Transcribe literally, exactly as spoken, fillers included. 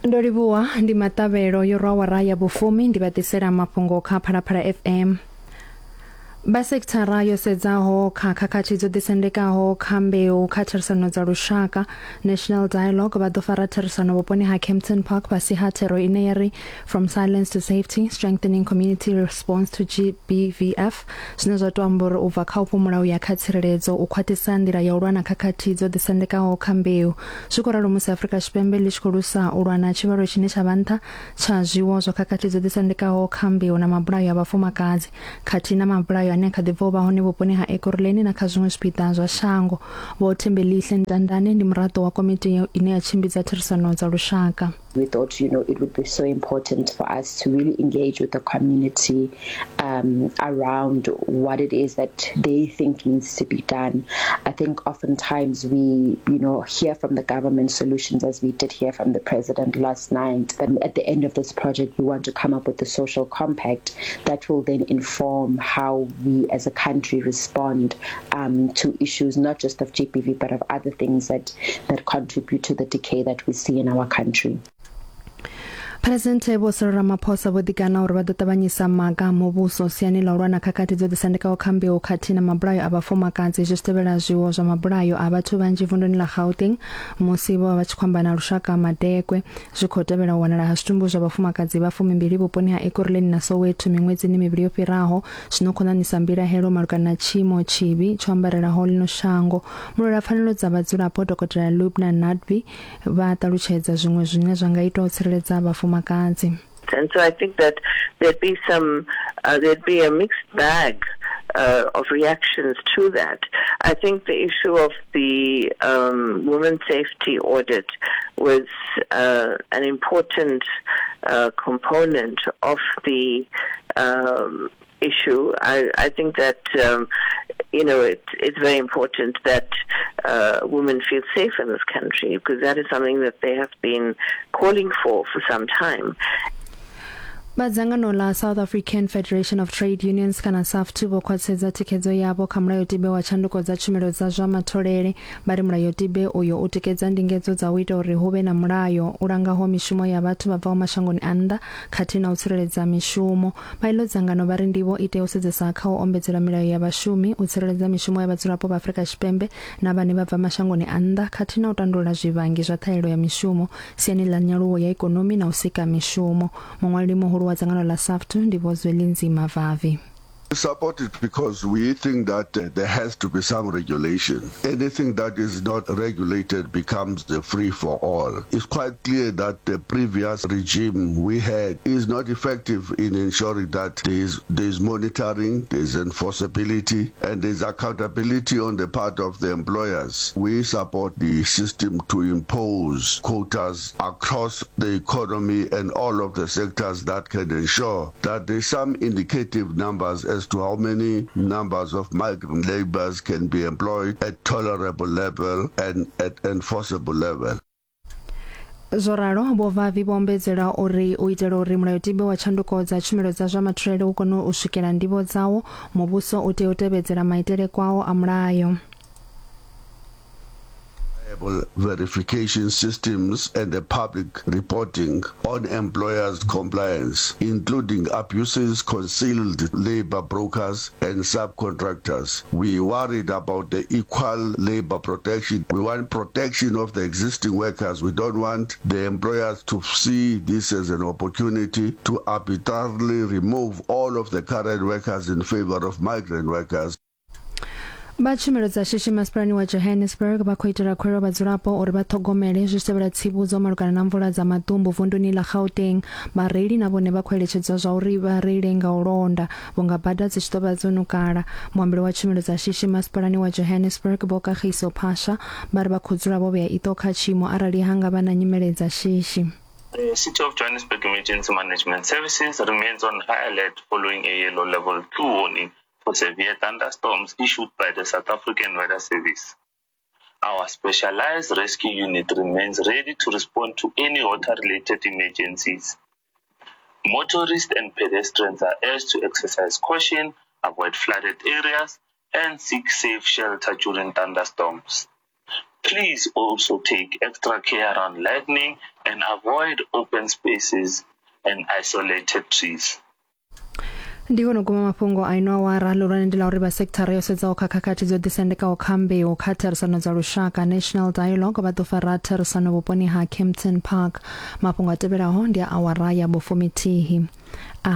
Ndo livhuwa ndi maṱavhelo yo rwa awara ya vhufumi ndi vha ḓisela mafhungo kha Phalaphala F M. Vha sekithara yo sedzaho kha khakhathi dzo ḓisendekaho kha mbeu kha therisano dza lushaka National Dialogue vha ḓo fara therisano vhuponi ha Kempton Park fhasi ha thero ine ya ri From Silence to Safety, Strengthening Community Response to G B V F, zwine zwa to amba uri u bva kha u fhumula u ya kha tsireledzo u khwaṱhisa nḓila ya u lwa na khakhathi dzo ḓisendekaho kha mbeu. Zwi khou ralo musi Afrika Tshipembe ḽi tshi khou lusa u lwa na tshivhalo tshine tsha vha nṱha tsha zwiwo zwa khakhathi dzo ḓisendekaho kha mbeu na mabulayo a vhafumakadzi khathihi na mabulayo ane kha ḓi bva u vha hone vhuponi ha Ekurhuleni na kha zwiṅwe zwipiḓa zwa shango. Vho Thembelihle Ntandane ndi muraḓo wa komiti ine ya tshimbidza therisano dza lushaka. We thought, you know, it would be so important for us to really engage with the community um, around what it is that they think needs to be done. I think oftentimes we, you know, hear from the government solutions, as we did hear from the president last night. But at the end of this project, we want to come up with a social compact that will then inform how we as a country respond um, to issues not just of G B V, but of other things that, that contribute to the decay that we see in our country. President Vho Cyril Ramaphosa vho ḓikana uri vha ḓo ṱavhanyisa maga a muvhuso siani ḽa u lwa na khakhathi dzo ḓisendekaho kha mbeu khathihi na mabulayo a vhafumakadzi zwi tshi tevhela zwiwo zwa mabulayo a vhathu vhanzhi vunduni ḽa Gauteng musi vho vha vha tshi khou amba na lushaka Madekwe. Zwi khou tevhela u wanala ha zwitumbu zwa vhafumakadzi vha fumimbili vhuponi ha Ekurhuleni na Soweto miṅwedzini mivhili yo fhiraho, zwino khou ṋaṋisa mbilahelo malugana na tshiimo tshivhi tsho ambarelaho ḽino shango. Mulwela pfanelo dza vhadzulapo Dokotela Lubna Nadvi vha ṱalutshedza zwiṅwe zwine zwa nga itwa u tsireledza vhafumakadzi. And so I think that there'd be some, uh, there'd be a mixed bag uh, of reactions to that. I think the issue of the um, women's safety audit was uh, an important uh, component of the um, issue. I, I think that, um, you know, it, it's very important that uh, women feel safe in this country, because that is something that they have been calling for for some time. Vha dzangano ḽa South African Federation of Trade Unions kana SAFTU vho khwaṱhisedza thikhedzo yavho kha mulayotibe wa tshanduko dza tshumelo dza zwa matholele. Vha ri mulayotibe uyo u tikedza ndingedzo dza u ita uri hu vhe na mulayo u langaho mishumo ya vhathu vha bvaho mashangoni a nnḓa khathihi na u tsireledza mishumo. Vha iḽo dzangano vha ri ndivho i tea u sedzesa kha u ombedzela milayo ya vhashumi, u tsireledza mishumo ya vhadzulapo vha Afrika Tshipembe na vhane vha bva mashangoni a nnḓa khathihi na u tandulula zwivhangi zwa ṱhahelelo ya mishumo siani ḽa nyaluwo ya ikonomi na u sika mishumo. Muṅwaleli muhulu wa dzangano ḽa SAFTU ndi Vho Zwelinzima Vavi. We support it because we think that uh, there has to be some regulation. Anything that is not regulated becomes the free for all. It's quite clear that the previous regime we had is not effective in ensuring that there is, there is monitoring, there is enforceability, and there is accountability on the part of the employers. We support the system to impose quotas across the economy and all of the sectors that can ensure that there is some indicative numbers as to how many numbers of migrant laborers can be employed at tolerable level and at enforceable level. Zwo ralo Vho Vavi vho ombedzela uri u itela uri mulayotibe wa tshanduko dza tshumelo dza zwa matholele u kone u swikela ndivho dzawo, muvhuso u tea u tevhedzela maitele kwao a mulayo. Verification systems and the public reporting on employers' compliance, including abuses, concealed labor brokers and subcontractors. We worried about the equal labor protection. We want protection of the existing workers. We don't want the employers to see this as an opportunity to arbitrarily remove all of the current workers in favor of migrant workers. Vha tshumelo dza shishi masipalani wa Johannesburg vha khou itela khuwelelo vhadzulapo uri vha ṱhogomele zwi tshi tevhela tsivhudzo malugana na mvula dza maḓumbu vunduni ḽa Gauteng. Vhareili na vhone vha khou eletshedzwa zwa uri vha reile nga u londa vhunga bada dzi tshi ḓo vha dzo nukala. Muambeli wa tshumelo dza shishi masipalani wa Johannesburg Vho Kagiso Phasha vha ri vha khou dzula vho vhea iṱo kha tshiimo arali ha nga vha na nyimele dza shishi. The City of Johannesburg Emergency Management Services remains on high alert following a yellow level two warning for severe thunderstorms issued by the South African Weather Service. Our specialized rescue unit remains ready to respond to any water-related emergencies. Motorists and pedestrians are urged to exercise caution, avoid flooded areas, and seek safe shelter during thunderstorms. Please also take extra care around lightning and avoid open spaces and isolated trees. Ndi hone guma mafhungo a ino awara. Ḽihulwane ndi ḽa uri vha sekithara yo sedzaho kha khakhathi dzo ḓisendekaho kha mbeu kha therisano dza lushaka National Dialogue vha ḓo fara therisano vhuponi ha Kempton Park. Mafhungo a tevhelaho ndi a awara ya vhufumithihi. A.